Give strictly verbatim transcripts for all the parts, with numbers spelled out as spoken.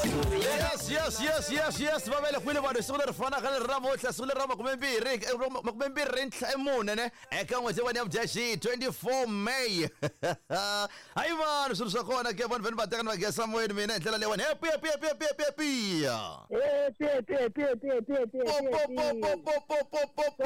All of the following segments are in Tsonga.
Yes, yes, yes, yes, yes. Va vele kwini vanhu siku leri fanaka leri namuntlha siku leri ra makumembirhi makumembirhi ntlha mune ne eka n'hweti ya Mudyaxihi twenty-four May. Hayi vanhu swilo swa kona ke vanhu veni va teka ni va gesa moyeni mina hi ndlela leyiwani. Happy, happy, happy, happy, happy, happy. Happy, happy, happy, happy, happy, happy, Po, po, po, po, po, po, po, po,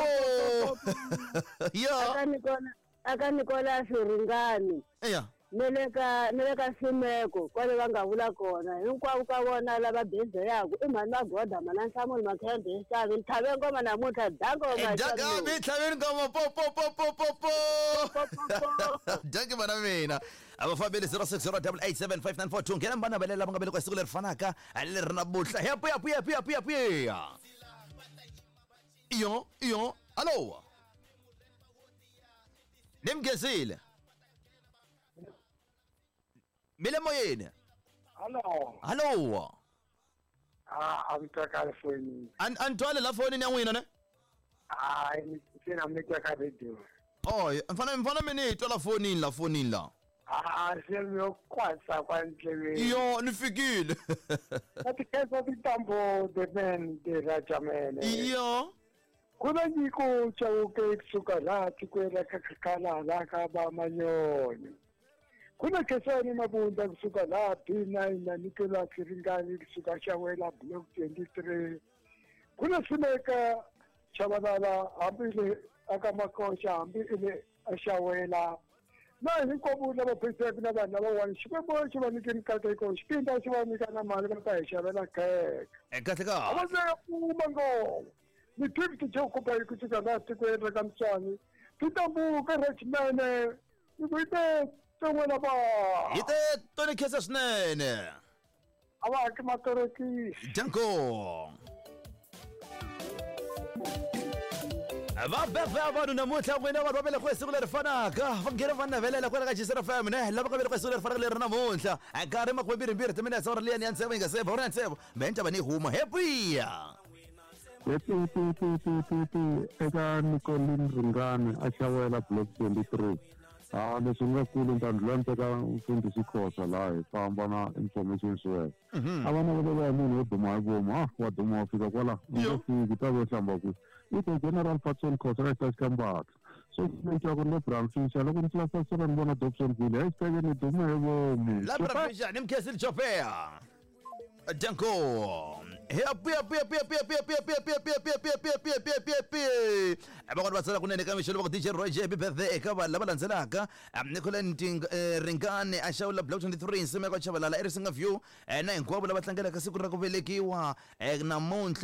po. Ya. Aka Nikola, aka Nikola Swiringani. Ya. Ni le ka ni le ka Simeko kwale va nga vula kona hinkwavo ka vona lava bezeyaku i mhani Magoda mana Nhlamulo Makhembe Xavi ni tlhave ngoma namuntlha dangoma Dagabi tlhaveni ngoma po po po po po po. Dankie mana mina. A va fambeli zero six zero double eight seven five nine four two nghena mbana velela va nga velekiwa siku leri fanaka leri namuntlha. Happy, happy, happy, happy, happy. Iyo, iyo, alo. Nimgezile. Mile moyeni. Hello. Hello. Ah, a mi twa kahle fonini. An an twale la fonini ya n'wina ne? Ah, ni se na mi twa ka radio. Oh, mfana mfana mina hi twa la fonini la fonini la. Ah, se mi yo kwasa kwa ndleveni. Yo, ni fikile. Ati kesa titambo the man the rajamene. Yo. Kuna nyiko chauke kusuka la tikwela kakakala la ka ba manyoni. Kuna Kesani Mabunda kusuka la B nine na Nicolas Ringani kusuka Shawela block twenty-three. Kuna Simeka Chabalala ambile akamakosha ambile Shawela. Na hinkwavo lava pheseke na vanhu lavawani Xikwembu xi va nyike mikateko xipinda xi va nyika na mali va ta hi xavela kheke. Kahle ka. A va se kuma ngoma. Ni fifty jokupa hi kusuka laha tikweni ra ka Mtswani. Titambuka Rachmene. Ni ku ite ton'wana va. Hi te toni khensa swinene. A va haki matorokisi. Danko. Va beva vanhu namuntlha n'wina vanhu va velekiwe siku leri fanaka va nghena va navelela kwala ka G F M ne lava nga velekiwe siku leri fanaka leri namuntlha nkarhi makumembirhimbirhi timinetse awara liyani ya ntsevu yi nga se ba ya ntsevu me ni huma happy. Happy, happy, happy, happy, happy eka Nicolin Ringani a Xawela block twenty-three. Ah, leswi nga kulu ni ta ndlula ni teka mfundhisi Khosa laha hi famba na information swela. A va navelela hi munhu wo duma hi vomu ah wa duma wa fika kwala u nge fiki ta vo hlamba kwihi i te General Patson Khosa ka xitasi ka Mbatha so ni twa ku ri le Bramfisher loko ni tlula ni vona Dobsonville hey xiteke ni duma hi vomu la Bramfisher ni mkhesile Chopea. Danko. Happy, happy, happy, happy, happy, happy, happy, happy, happy, happy, happy, happy, happy, happy. Van'wana va tsala kunene ka mixo loko D J Roy J happy birthday eka vanhu lava landzelaka. Nicola Ringani a Xawula block twenty-three Nsimeko Chabalala Erisinga View na hinkwavo lava tlangelaka siku ra ku velekiwa namuntlha.